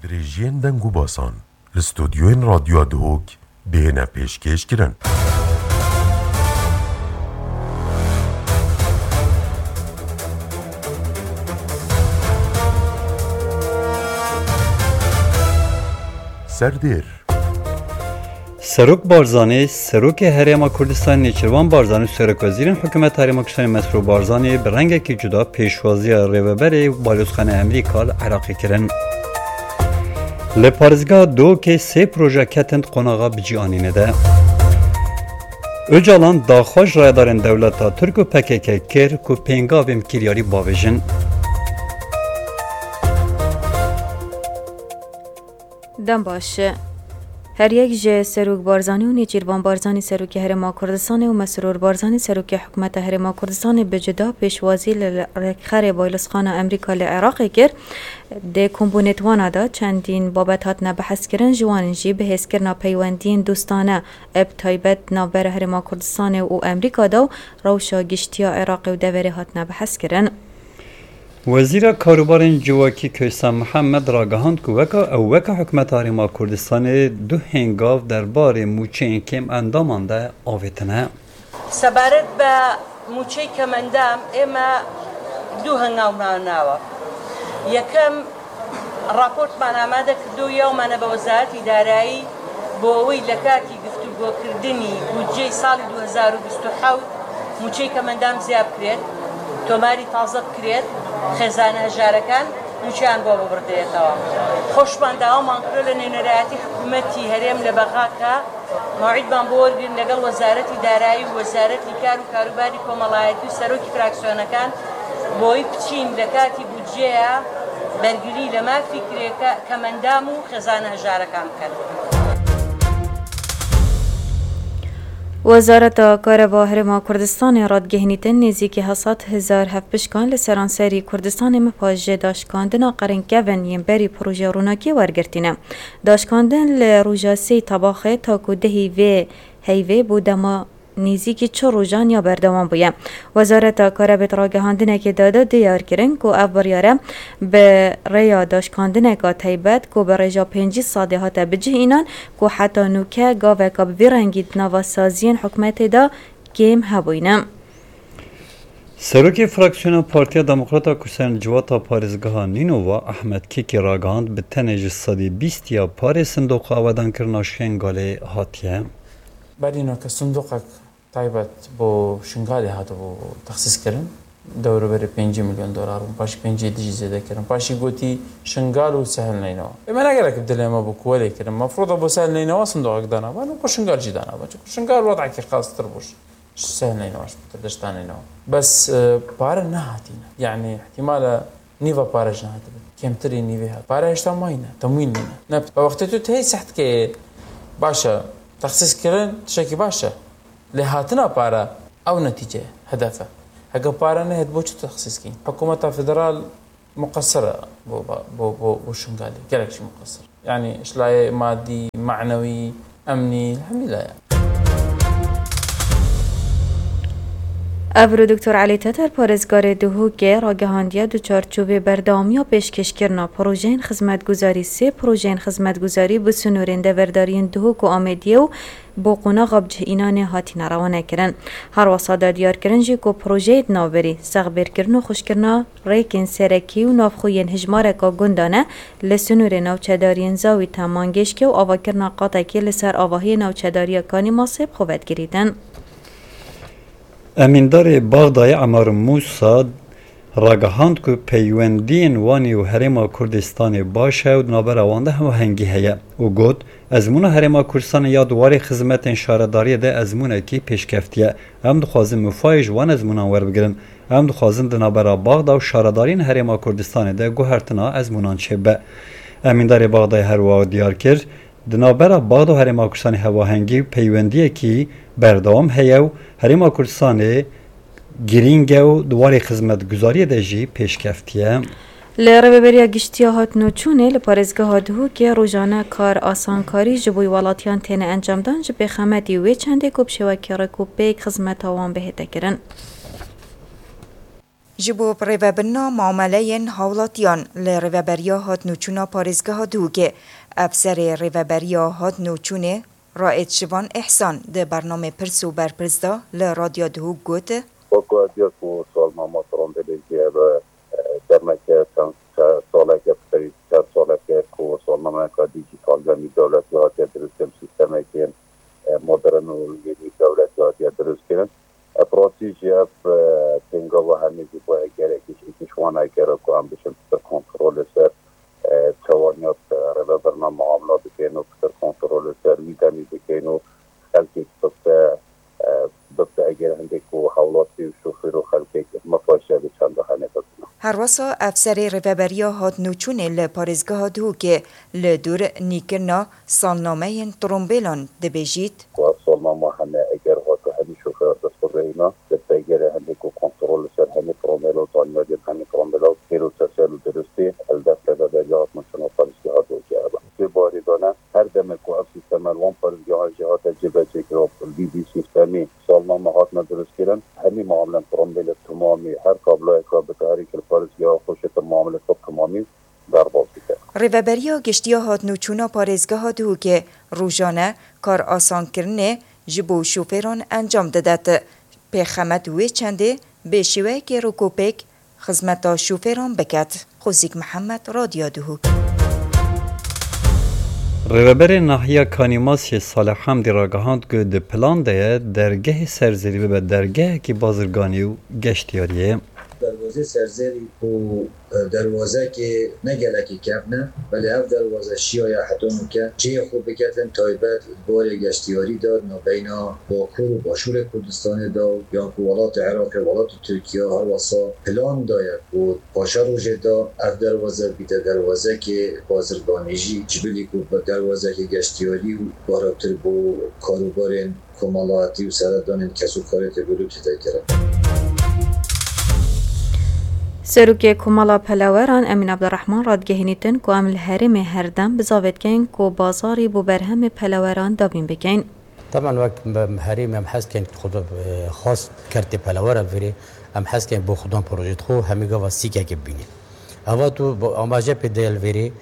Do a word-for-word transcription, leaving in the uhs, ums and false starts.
Dirêjiyên deng û basan li stûdyoyên Radyoya Duhok bihêne pêşkêş kirin. Serdêr. Serok Barzanî, Serokê Herêma Kurdistanê Nêçîrvan Barzanî û Serokwezîrên Hikûmeta Herêma Kurdistanê Mesrûr Barzanî bi rengekî cuda pêşwaziya rêveberê Balozxaneya Amerîka li Iraqê kirin. Li parêzgeha Duhokê sê proje ketin di qonaxa bicîanînê de. Ocalan daxwaz ji rayedarên dewleta Tirk û P K K kir ku pêngavên kiryarî bavêjin. Dem baş. Her yek ji Serok Barzanî û Nêçîrvan Barzanî Serokê Herêma Kurdistanê û Mesrûr Barzanî Serokê Hikûmeta Herêma Kurdistanê bi cuda pêşwazî li rêkxerê Balozxana Amerîka li Iraqê kir. Di kombûnê di wana de çendîn babet hatine bihezkirin, ji wan jî bihêzkirina peywendiyên dostane, bi taybet navbera Herêma Kurdistanê û Amerîka de û rewşa giştî ya Iraqê û deverê hatine bihezkirin. Wezîra Karûbarên Civakî Keysa Mihemed ragihand ku weka ew weka Hikûmeta Herêma Kurdistanê du hêngav derbarê mûçeyên kêm endaman de avêtine. سەبارەت بە مووچەی کەمەندام، ئێمە دوو هەنگاومان ناوە. یەکەم، راپۆرتمان ئامادە کردو، یاومانە بە وەزارەتی دارایی، بۆ ئەوەی لە کاتی گفتوگۆکردنی بودجەی ساڵی دوو هەزار و بیست و حەوت مووچەی کەمەندام زیاد بکرێت، تۆماری تازە بکرێت، خێزانە هەژارەکان مووچەیان بۆ ببڕدرێتەوە. خۆشمان داوامان کرد لە نوێنەرایەتی حکوومەتی هەرێم لە بەغا کە مەوعیدمان بۆ وەرگرن لەگەڵ وەزارەتی دارایی و وەزارەتی کار و کاروباری کۆمەڵایەتی و سەرۆکی فراکسیۆنەکان، بۆی بچین لە کاتی بودجەیە بەرگری لە مافی کرێکە-، کەمەندام و خێزانە هەژارەکان بکەن. وەزارەتا کارەبا هەرێما کوردستانê radgehînîtin nêzîkî heft sed hezar hevpişkan li seranserî Kurdistanê mipa ji daşkandina qerinkevin yên berî projeya ronakiyê wergirtîne. Daşkandin li roja sêyî Tebaxê ta ku dehî vê heyvê bo dema nêzîkî çil rojan ya berdewam bûye. Wezareta Karebê di ragihandinekê de de diyar kirin ku ev biryare bi rêya daşkandineka taybet ku bi rêja pêncî sedî hate bicih înan ku heta nûke gaveka bi vî rengî di nava saziyên hikûmetê de kêm hebûyne. Serokê fraksiyona Partiya Demokrata Kurdistanê li civata parêzgeha Nînova Ehmed Kekî ragihand bi tenê ji sedî bîst ya parê sindoqa awedankirina Şengalê hatiye. Berî nûke sindoqek taybet bo Şingalê hatibû texsîskirin. Dewrûberê pêncî milyon dolar bûn, paşî pêncî dî jî zêde kirin. Paşî gotî Şingal û Sehil Neynewa. Ê me ne gerek bi dilê me bû ku welê kirin. Mefrûda bo Sehil Neynewa sindoqek danaban û bo Şingal jî danaban. Çunku Şingal wedekî xastir bû. Ji Sehil Neynewa, ji Deşta Neynewa. Bes, e, pare nehatîne. Yanî ihtimale nîva pare jî nehatibe. Kêmtirî nîvê hat. Pare hêşta mayîne. Temwîl nîne. Ne, bi wextê tu tê seh dikê, baş e. Texsîs kirin, tiştekî baş e. Lê hatina pare, ew netîce, hedef e. Heke pare nehêt, bo çi texsîs kîn? Hikûmeta federal muqesir e bo, bo, bo, bo Şingalê. Gelek jî muqesir. Yanî, ji layê madî, manewî, emnî, hemî layan. Evro Doktor Elî Teter, parêzgarê Duhokê, ragihandiye di çarçovê berdewamiya pêşkêşkirina projeyên xizmetguzarî, sê projeyên xizmetguzarî bi sînorên deverdariyên Duhok û Amêdiyê û bo qonaxa bicihînanê hatine rewanekirin. Her wesa da diyarkirin jî ku projeyê di navberî sexbêrkirin û xweşkirina rêkên serekî û navxwe yên hijmareka gundan e, li sînorê navçedariyên Zawî Temangêşkê û avakirina qatekê li ser avahiyê navçedariya Kanî Masê bi xwe ve digirîtin. Emîndarê Baxdayê Emar Mûsa ragihand ku peywendiyên Wanê û Herêma Kurdistanê baş e û di navbera wan de hemahengî heye û got, Ezmûna Herêma Kurdistanê ya di warê xizmetên şaredariyê de ezmûnekî pêşkeftî ye. Em dixwazin mifayê ji wan ezmûnan werbigirin. Em dixwazin di navbera Baxda û şaredariyên Herêma Kurdistanê de guhertina ezmûnan çêbibe. Emîndarê Baxdayê her wiha diyar kir, Di navbera Baxda û Herêma Kurdistanê hevahengî û peywendiyekî berdewam heye û Herêma Kurdistanê girîng e û di warê xizmetguzariyê de jî pêşkeftî ye. Li Rêveberiya Giştî ya Hatinûçûnê li parêzgeha Duhokê rojane kar asankarî ji bo welatiyan têne encamdan, ji pêxemetî wê çendê ku bi şêwekî rêk û pêk xizmeta wan bihête kirin. Ji bo rêvebirina muameleyên hawlatiyan li Rêveberiya Hatnûçûna Parêzgeha Duhokê, Efserê Rêveberiya Hatnûçûnê Raed Şivan Îhsan di bernamê Pirs û Berpirs de li Radyo Duhok got, Wek ku ez diya ku salnama Trombilê jî ev, e, demeke çend, çend saleke, bi serî çend saleke ku salnameyeka dîjîtal demî dewletî hatiye dirustkirin, sîstemekên, e, modern û yê nîv dewletî hatiye dirustkirin. E, bi rastî jî ev, e, pêngava hemî jî bo egerekî ji êkî ji wan egera ku em bişin pitir kontrol li ser, e, çewaniya, e, rêvebirina muamela bikin û pitir kontrol li ser wî demî bikin û xelkê bibte, e, bibte eger hindek ku hewlatî û şofêr û xelkek mixweşe bi çanda hene bibin. Herwesa Efserê Rêveberiya Hatnûçûnê li Parêzgeha Duhokê li dûr nîkirina salnameyên trombêlan dibêjît, Ku ev salnama hene, eger hate hemî şofêr dest bigihîna, li peygerê hindê ku kontrol li ser hemî trombêla û zanyariyên hemî trombêla û sêr û tesel û dirustî li dest Rêveberiya Hatnûçûna Parêzgeha Duhokê hebe. Sê barî dane, her demê ku ev sîsteme li wan parêzgehan jî hate cêbecêkirin, vî, vî sîstemî salname hatine dirustkirin, hemî muamelen trombêlê timamî, her kabloyeka bi karî kir parêzgeha xwe şêtir muamelê xwe timamî derbas bike. Rêveberiya Giştî ya Hatnûçûna Parêzgeha Duhokê rojane kar asankirinê ji bo şofêran encam didet. Pêxemet wê çendê bi şêweyekê rokopêk xizmeta şofêran biket. Qozîk Mihemed, Radyo Duhok. Rêveberê Nahiya Kanîmasê Salih Hamdî ragihand ku di plan de ye dergehê Serzerî bibe dergehekî bazirganî û geştiyariyê. Derwazê Serzerî ku, e, derwazekê ne gelekî kevn e, belê ev derwaze şiyaya heta nûke cihê xwe biketin taybet di barê geştiyarî de nabeyna Bakur û Başûrê Kurdistanê de û yan ku welatê Iraqê, welatê Tirkiye, her wesa plan de ye ku paşa rojê de ev derwaze bîte derwazekê bazirganî jî, ji bilî ku derwazekê geştiyarî û barawtir bo karûbarên komelayetî û seredanên kes û karê têgotû têde kirin. Serokê Komela Peleweran Emîn Abdurrahman radigehînîtin ku em li herêmê her dem bizavê dikeyin ku bazarî bo berhemê peleweran dabîn bikeyin. Taban wek me-, herêmê em hez dikin xwe, e, xas kertê pelewera vêrê, em hez dikin bo xudan projê xwe hemî gava sîkekê bibînin. Eva tu bo-, amaje pê de li vêrê,